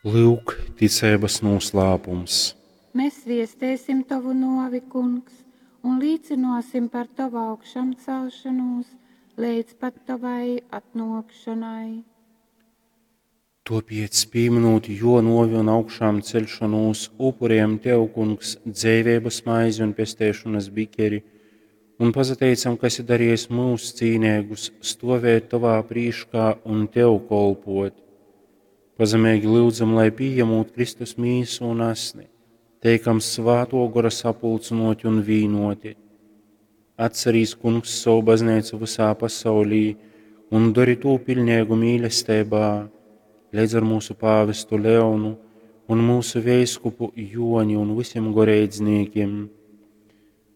Lyuk, ticeibas nūslāpums. Mes viesteisim tovu nōvi, Kungs, un līcynōsim par tovu augšamcelšonūs leidz pat tovai atnōkšonai. Tōpēc, pīmynūt jō nōvi un augšāmceļšonūs, upurējam Tev, Kungs, dzeiveibas maizi un pesteišonas bikeri, un pasateicam, ka esi darījis mūs cīneigus stovēt Tovā prīškā un Tev kolpot. Pazemeigi lyudzam, lai pījemūt Kristus mīsu un asni, teikam Svātō Gora sapulcynōti un vīnoti. Atcerīs, Kungs, savu baznīcu visā pasaulī un dori tū piļneigu mīlestībā, leidz ar mūsu pāvestu Leonu un mūsu veiskupu Joni un visiem goreidznīkiem.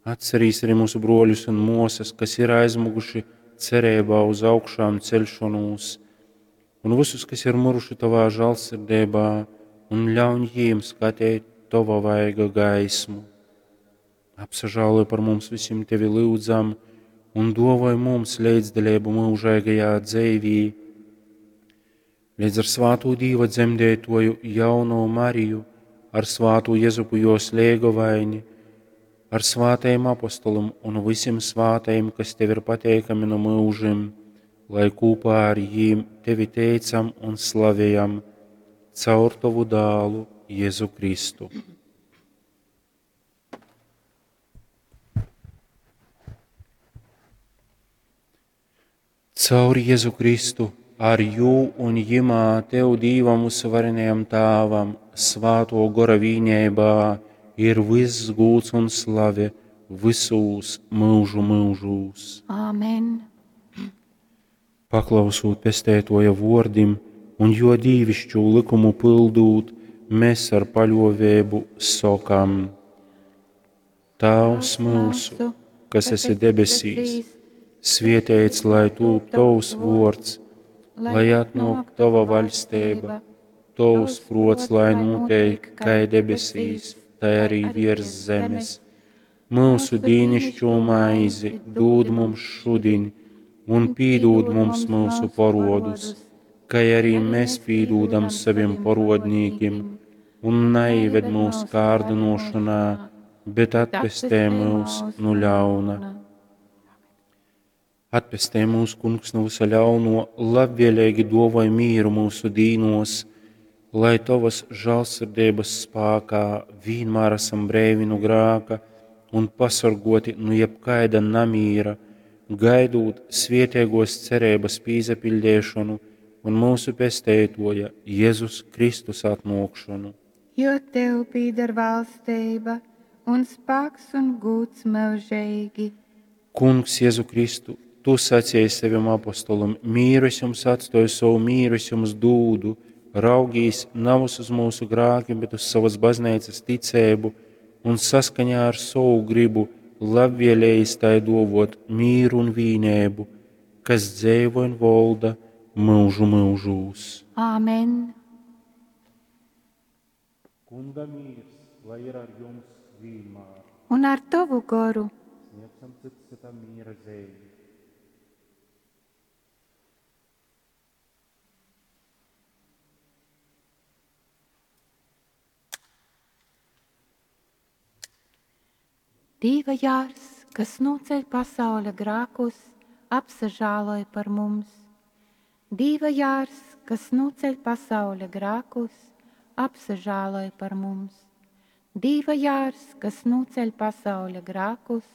Atcerīs arī mūsu broļus un mosas, kas ir aizmuguši cerībā uz augšām celšanos, un visus, kas ir miruši tavā žēlsirdībā, un ļauj jiem skatīt tava vaiga gaismu. Apsažāloj par mums visiem tevi lūdzam, un dovoj mums līdzdalību mūžīgajā dzīvī. Līdz ar svāto Dīva dzemdētoju jauno Mariju, ar svāto Jezupu jos lēgovaini, ar svātajiem apostolim un visiem svātajiem, kas tev ir pateikami no mūžiem, lai kopā ar jīm tevi teicam un slavējam caur tavu dālu Jēzu Kristu. Caur Jēzu Kristu, ar jū un jimā tev Dīvam uzvarenajam Tāvam, svāto gora vīnībā, ir viss gūds un slave visūs mūžu mūžūs. Āmen. Paklausūt pestētoja vordim un jo dīvišķu likumu pildūt, mēs ar paļovēbu sokam: Tēvs mūsu, kas esi debesīs, svietēts lai tūp tavs vords, lai atnāk tava vaļstība, tavs prots, lai notiek kā debesīs, tai arī virs zemes. Mūsu dīnišķo maizi dod mums šodien, un pīdod mums mūsu parodus, kā arī mēs pīdodam saviem parodnīkiem, un neieved mūsu kārdinošanā, bet atpestē mūs no ļauna. Atpestē mūs, Kungs, no visa ļauno, labvēlīgi dovoj mīru mūsu dīnos, lai tavas žēlsirdības spākā vienmēr esam brēvi no grāka un pasargoti no jebkaida namīra, gaidūt svietēgos cerības pīzapildēšanu un mūsu pestētoja Jēzus Kristus atnākšanu. Jo tev pīdar valstība un spēks un gūts mūžīgi. Kungs, Jēzu Kristu, tu sacīji saviem apostolam, mīru es jums atstoju, savu mīru es jums dūdu, raugīs navus uz mūsu grākiem, bet uz savas baznīcas ticēbu un saskaņā ar savu gribu labvēlējis tai dovot mīru un vīnēbu, kas dzēvo un volda mūžu mūžūs. Āmen. Kunga mīrs, lai ir ar jums vienmēr. Un ar tavu goru. Sniedzam cits citam mīra zīmi. Dīva jārs, kas noceļ pasaules grākus, apsažāloj par mums. Dīva jārs, kas noceļ pasaules grākus, apsažāloj par mums. Dīva jārs, kas noceļ pasaules grākus,